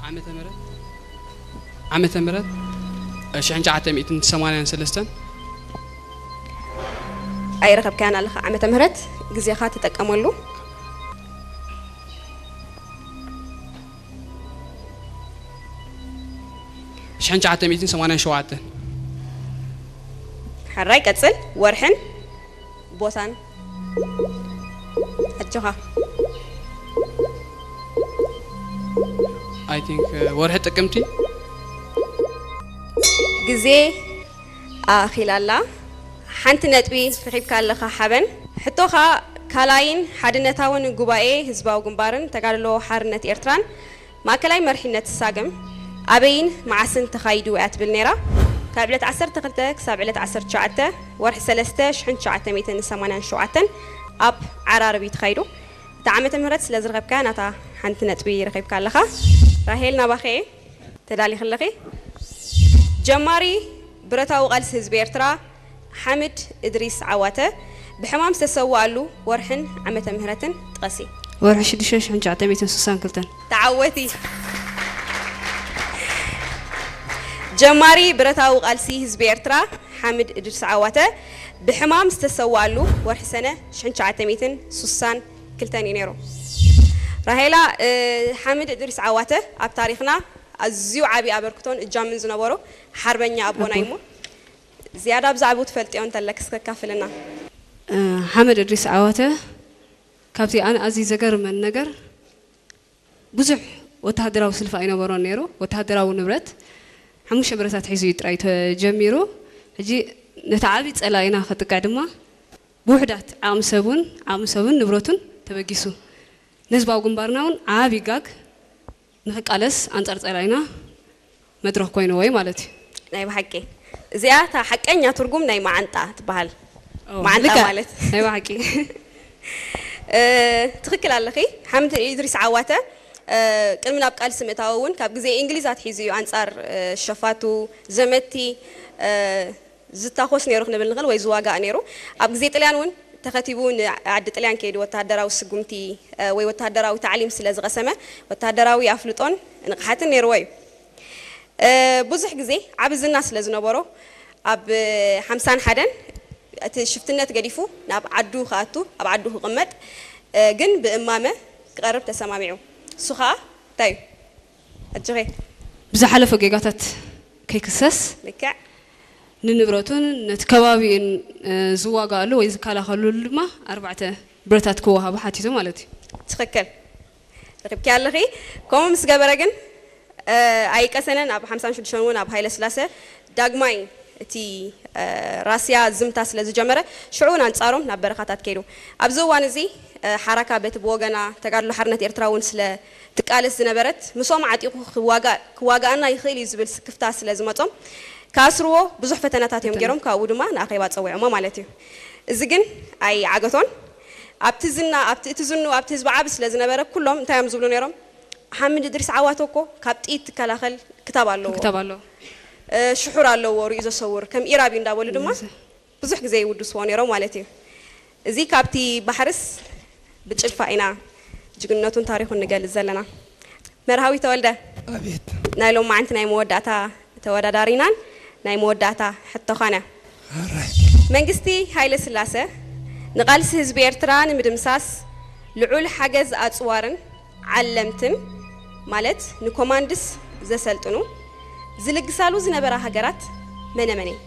ዓመተ ምህረት ዓመተ ምህረት ሽሕን ትሽዓተ ሚእትን ሰማንያን ሰለስተን። ኣይረኸብካያን ኣለኻ ዓመተ ምህረት፣ ግዜኻ ተጠቀመሉ። ሽሕን ትሽዓተ ሚእትን ሰማንያን ሸውዓተን። ሕራይ ቀጽል። ወርሕን ቦታን ኣጆኻ። I think ወርሒ ጥቅምቲ። ግዜ ኣኺላላ። ሓንቲ ነጥቢ ረኺብካ ኣለኻ ሓበን። ሕቶኻ ካልኣይን ሓድነታውን ጉባኤ ህዝባዊ ግንባርን ተጋድሎ ሓርነት ኤርትራን ማእከላይ መርሒነት ሳግም ኣበይን መዓስን ተኻይዱ እያ ትብል ነይራ። ካብ ዕለት ዓሰርተ ክልተ ክሳብ ዕለት ዓሰርተ ትሽዓተ ወርሒ ሰለስተ ሽሕን ትሽዓተ ሚእትን ሰማንያን ሸውዓተን ኣብ ዓራርብ እዩ ተኻይዱ። እታ ዓመተ ምህረት ስለ ዝረኸብካያ ናታ ሓንቲ ነጥቢ ረኺብካ ኣለኻ። ራሄል ናባኸ እየ። ተዳሊኺ ኣለኺ? ጀማሪ ብረታዊ ቃልሲ ህዝቢ ኤርትራ ሓምድ እድሪስ ዓዋተ ብሕማም ዝተሰወኣሉ ወርሕን ዓመተ ምህረትን ጥቐሲ። ወርሒ ሽዱሽተ ሽሕን ትሽዓተ ሚእትን ስሳን ክልተን። ተዓወቲ። ጀማሪ ብረታዊ ቃልሲ ህዝቢ ኤርትራ ሓምድ እድሪስ ዓዋተ ብሕማም ዝተሰወኣሉ ወርሒ ሰነ ሽሕን ትሽዓተ ሚእትን ስሳን ክልተን እዩ ነይሩ። ራሄላ፣ ሓምድ እድሪስ ዓዋተ ኣብ ታሪኽና ኣዝዩ ዓቢ ኣበርክቶን እጃምን ዝነበሮ ሓርበኛ ኣቦና እዩ። እሞ ዝያዳ ብዛዕባኡ ትፈልጥዮ እንተለክስ ከካፍልና። ሓመድ እድሪስ ዓዋተ ካብቲ ኣነ ኣዝዩ ዘገርመን ነገር ብዙሕ ወተሃደራዊ ስልፊ ኣይነበሮን ነይሩ። ወተሃደራዊ ንብረት ሓሙሽተ ብረታት ሒዙ እዩ ጥራይ ተጀሚሩ። ሕጂ ነቲ ዓቢ ጸላኢና ከጥቅዕ ድማ ብውሕዳት ዓቕሚ ሰቡን ዓቕሚ ሰቡን ንብረቱን ተበጊሱ ንህዝባዊ ግንባርና እውን ዓቢ ጋግ ንክቃለስ ኣንጻር ጸላኢና መድረኽ ኮይንዎ እዩ ማለት እዩ። ናይ ብሓቂ እዚኣ እታ ሓቀኛ ትርጉም ናይ መዓንጣ ትበሃል። ኦ፣ መዓንጣ ልክዕ። ማለት ናይ ብሓቂ። እ፣ ትኽክል ኣለኺ። ሓምድ ኢድሪስ ዓዋተ እ፣ ቅድሚ ናብ ቃልሲ ምእታው እውን ካብ ግዜ እንግሊዝ ኣትሒዙ እዩ ኣንጻር እ፣ ሸፋቱ ዘመቲ እ፣ ዝታኾስ ነይሩ ክንብል ንኽእል ወይ ዝዋጋእ ነይሩ። ኣብ ግዜ ጥልያን እውን ተኸቲቡ ንዓዲ ጥልያን ከይዱ ወተሃደራዊ ስጉምቲ እ፣ ወይ ወተሃደራዊ ታዕሊም ስለ ዝቐሰመ ወተሃደራዊ ኣፍልጦን ንቕሓትን ነይርዎ እዩ። እ፣ ብዙሕ ግዜ ዓቢ ዝና ስለ ዝነበሮ ኣብ ሓምሳን ሓደን እቲ ሽፍትነት ገዲፉ ናብ ዓዱ ክኣቱ ኣብ ዓዱ ክቕመጥ እ፣ ግን ብእማመ ክቐርብ ተሰማሚዑ። እሱ ኸኣ እንታይ እዩ? ኣጆኸ። ብዝሓለፎ ጌጋታት ከይክሰስ ልክዕ። ንንብረቱን ነቲ ከባቢኡን እ፣ ዝዋጋኣሉ ወይ ዝከላኸለሉ ድማ ኣርባዕተ ብረታት ክወሃቡ ሓቲቱ ማለት እዩ። ትኽክል። ረኺብኪ ኣለኺ። ከምኡ ምስ ገበረ ግን እ፣ ኣይቀሰነን። ኣብ ሓምሳን ሽዱሽተን እውን ኣብ ሃይለ ስላሰ ዳግማይ እቲ እ፣ ራስያ ዝምታ ስለ ዝጀመረ ሽዑ እውን ኣንጻሮም ናብ በረኻታት ከይዱ። ኣብዚ እዋን እዚ እ፣ ሓራካ በቲ ብወገና ተጋድሎ ሓርነት ኤርትራ እውን ስለ ትቃለስ ዝነበረት ምስኦም ዓጢቑ ክዋጋ- ክዋጋኣና ይኽእል እዩ ዝብል ስክፍታ ስለ ዝመጾም ክኣስርዎ ብዙሕ ፈተናታት እዮም ገይሮም። ካብኡ ድማ ንኣኼባ ጸዊዖሞ ማለት እዩ። እዚ ግን ኣይዓገቶን። ኣብቲ ዝና ኣብቲ እቲ ዝኑ ኣብቲ ህዝቢ ዓቢ ስለ ዝነበረ ኩሎም እንታይ እዮም ዝብሉ ነይሮም? ሓምድ እድሪስ ዓዋተ እኮ ካብ ጥይት ትከላኸል ክታብ ኣለዎ። ክታብ ኣለዎ። እ፣ ሽሑር ኣለዎ ርእዩ ዘሰውር ከም ኢራብ እዩ እንዳበሉ ድማ ብዙሕ ግዜ ይውድስዎ ነይሮም ማለት እዩ። እዚ ካብቲ ባሕርስ ብጭልፋ ኢና ጅግንነቱን ታሪኹን ንገልጽ ዘለና። መርሃዊ ተወልደ። ኣቤት። ናይ ሎማዓንቲ ናይ መወዳእታ ተወዳዳሪናን ናይ መወዳእታ ሕቶ ኾነ። ኣራይ። መንግስቲ ሃይለ ስላሰ ንቃልሲ ህዝቢ ኤርትራ ንምድምሳስ ልዑል ሓገዝ ኣጽዋርን ዓለምትን ማለት ንኮማንድስ ዘሰልጥኑ ዝልግሳሉ ዝነበራ ሃገራት መነ መን እየን?